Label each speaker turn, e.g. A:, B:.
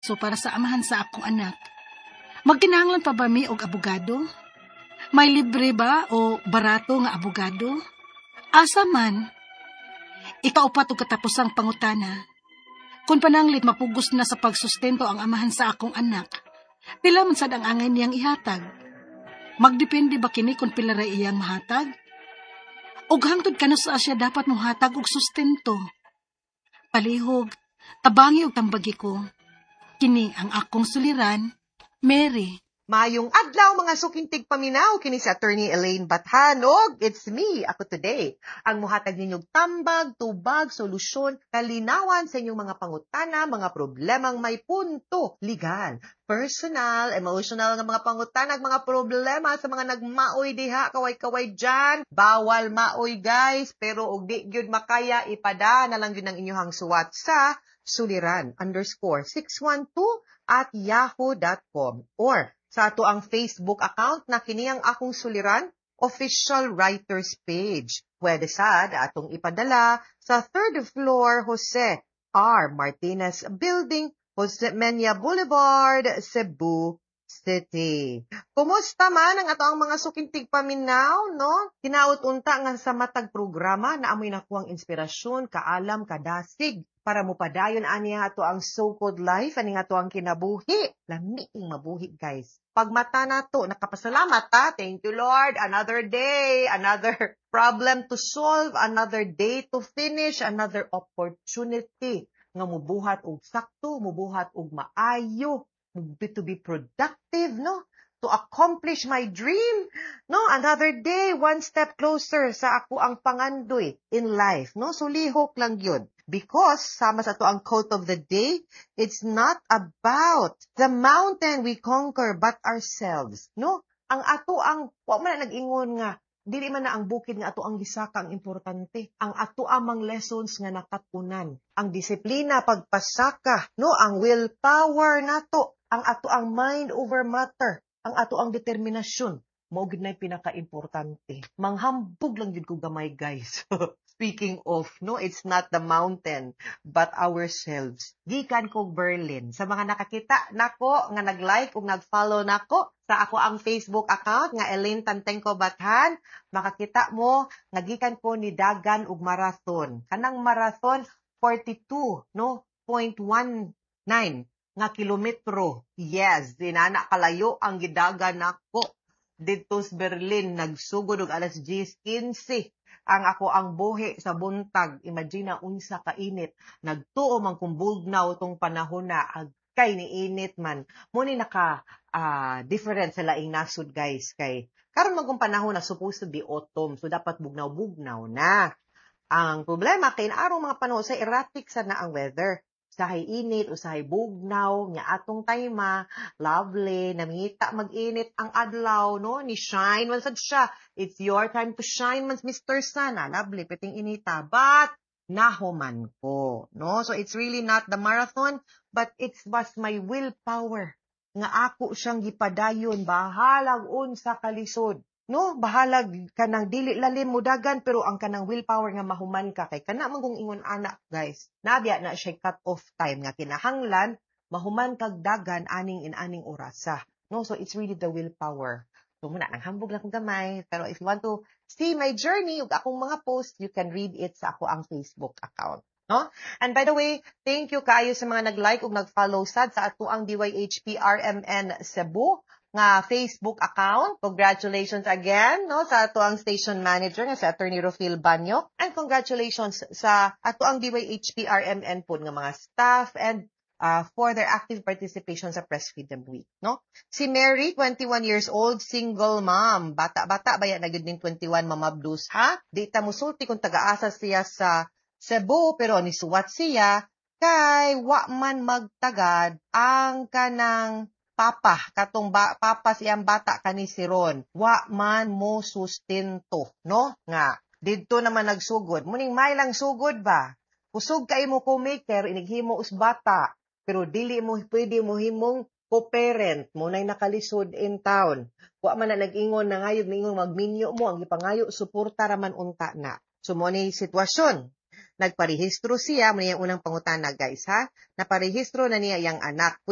A: So para sa amahan sa akong anak, magkinahanglan pa ba mi og abogado? May libre ba o barato nga abogado? Asa man? Ikaupat og katapusang pangutana. Kung pananglit mapugos na sa pagsustento ang amahan sa akong anak, pila man sad ang angay niyang ihatag? Magdepende ba kini kung pila ra iyang mahatag? Og hangtod kanus-a siya dapat mohatag og sustento? Palihog, tabangi og tambagi ko. Kini ang akong suliran, Mary.
B: Maayong adlaw, mga suking tigpaminaw, kini si Attorney Elaine Bathan og it's me, ako today, ang muhatag ninyong tambag, tubag, solusyon, kalinawan sa inyong mga pangutana, mga problemang may punto legal, personal, emotional nga mga pangutana, mga problema sa mga nagmaoy diha, kaway-kaway dyan. Bawal maoy, guys, pero og di gyud makaya, ipada na lang gyud ang inyong suwat sa suliran_612@yahoo.com or sa ato ang Facebook account na kini ang Akong Suliran Official Writers Page. Pwede sad atong ipadala sa third floor, Jose R. Martinez Building, Jose Menia Boulevard, Cebu City. Kumusta man ang ato ang mga suking tigpaminaw, no? Hinaot unta nga sa matag programa naa moy nakuhang inspirasyon, kaalam, kadasig para mopadayon ani ato ang so-called life, ani ato ang kinabuhi. Lami ing mabuhi, guys. Pagmata nato, nakapasalamat ta. Thank you, Lord. Another day, another problem to solve, another day to finish, another opportunity nga mubuhat og sakto, mubuhat og maayo, to be productive, no? To accomplish my dream, no? Another day, one step closer sa ako ang pangandoy in life, no? So lihok lang yun. Because, sama sa ato ang quote of the day, it's not about the mountain we conquer, but ourselves, no? Ang ato ang, wa man na nag-ingon nga, dili man na ang bukid nga ato ang gisaka ang importante. Ang ato amang lessons nga nakatunan. Ang disiplina, pagpasaka, no? Ang willpower nato, ang ato ang mind over matter, ang ato ang determinasyon, mao gid na pinaka-importante. Manghambog lang gyud ko gamay, guys. Speaking of, no, it's not the mountain, but ourselves. Gikan ko Berlin. Sa mga nakakita nako, nga nag-like ug nag-follow nako sa ako ang Facebook account nga Elaine Tantengco Bathan, makakita mo nga gikan ko ni dagan og marathon. Kanang marathon 42, no, 0.19 nga kilometro. Yes, dinana kalayo ang gidagan nako didto sa Berlin. Nagsugod og alas 10:15 ang ako ang buhi sa buntag. Imagine unsa kainit. Nagtuo man kung bugnaw tong panahon na agkay ni init man. Mo ni naka different sa laing nasod, guys, kay karon man kung panahon na supposed to be autumn, so dapat bugnaw-bugnaw na. Ang problema kay arong mga panahon sa erratic sa na ang weather, usahay init, usahay bugnaw, nga atong time lovely, namita mag-init ang adlaw, no? Ni shine man sad siya. It's your time to shine man, Mr. Sun. Ah, lovely, piting inita. But, nahuman ko, no? So, it's really not the marathon, but it was my willpower nga ako siyang gipadayon, bahalag unsa kalisod, no? Bahalag kanang dili lalim mo dagan, pero ang kanang willpower nga mahuman ka, kay kana man kung ingon anak, guys, nabya na siya cut off time nga kinahanglan mahuman kag dagan aning in-aning orasa, no? So it's really the willpower. So muna nang hambog lang kong gamay, pero if you want to see my journey ug akong mga post, you can read it sa ako ang Facebook account, no? And by the way, thank you kaayo sa mga nag-like ug nag-follow sad sa ato ang DYHP RMN Cebu nga Facebook account. Congratulations again, no, sa ato ang station manager nga si Attorney Rofil Banyo, and congratulations sa ato ang DYHP RMN pod nga mga staff and for their active participation sa Press Freedom Week, no? Si Mary, 21 years old, single mom. Bata-bata baya na gyud ning 21, Mama Blues, ha? Di ta musulti kung taga-asa siya sa Cebu, pero nisuwat siya kay wa man magtagad ang kanang papa, katong ba, papa siyang bata kani si Ron, wa man mo sustento, no? Nga, didto naman nagsugod. Muning may lang sugod ba? Kusog kay mo co-maker, inighimo us bata, pero dili mo pwede mo himong co-parent mo nay nakalisod in town. Wa man na nag-ingon na ngayog ningon magminyo mo, ang gipangayo suporta raman unta na. So mo ni sitwasyon. Nagparehistro siya, mao iyang unang pangutana, guys, ha. Naparehistro na niya iyang anak. Pwede